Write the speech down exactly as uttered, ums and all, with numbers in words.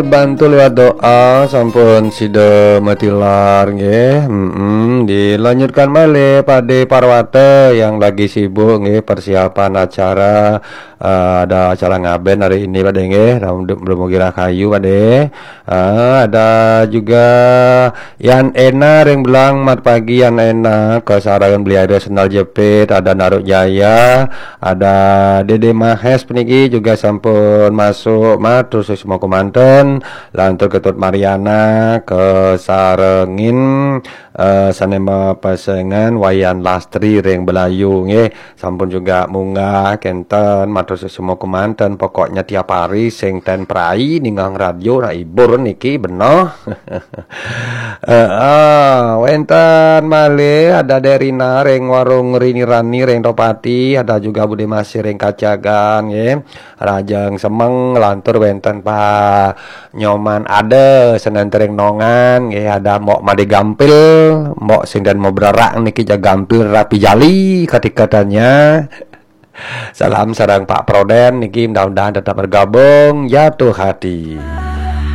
Bantu lewat doa, sampun sida matilar nggih. Mm-mm. Dilanjutkan malih Pade Parwata yang lagi sibuk nggih, persiapan acara. Eh, ada acara ngaben hari ini, Pade nggih. Ram-, mugi rahayu, Pade. Eh, ada juga Yan Ena ring Belang, mat pagi Yan Ena, kesarengan Beli Aida Sendal Jepit, ada Naruk Jaya, ada Dede Mahes puniki juga sampun masuk, matur suksma kumanten, lantur Ketut Mariana, kesarengin, eh, sane mapesengan Wayan Lastri ring Belayu nggih, sampun juga munggah kenten, matur suksma kumanten, pokoknya tiap hari sing ten prai ninggang radio, nah, hibur niki benoh. Heeh, wenten malih ada Derina ring Warung Rini Rani ring Topati, ada juga Bude Masih ring Kacagan nggih. Rajang semeng lantur wenten Pa Nyoman ada senen ring Nongan nggih, ada Mbok Made Gampil, Mbok sing den mabrerak niki, jaga gampil rapi jali katikatannya. Salam sareng Pak Proden niki, mudah-mudahan tetap bergabung jatuh hati.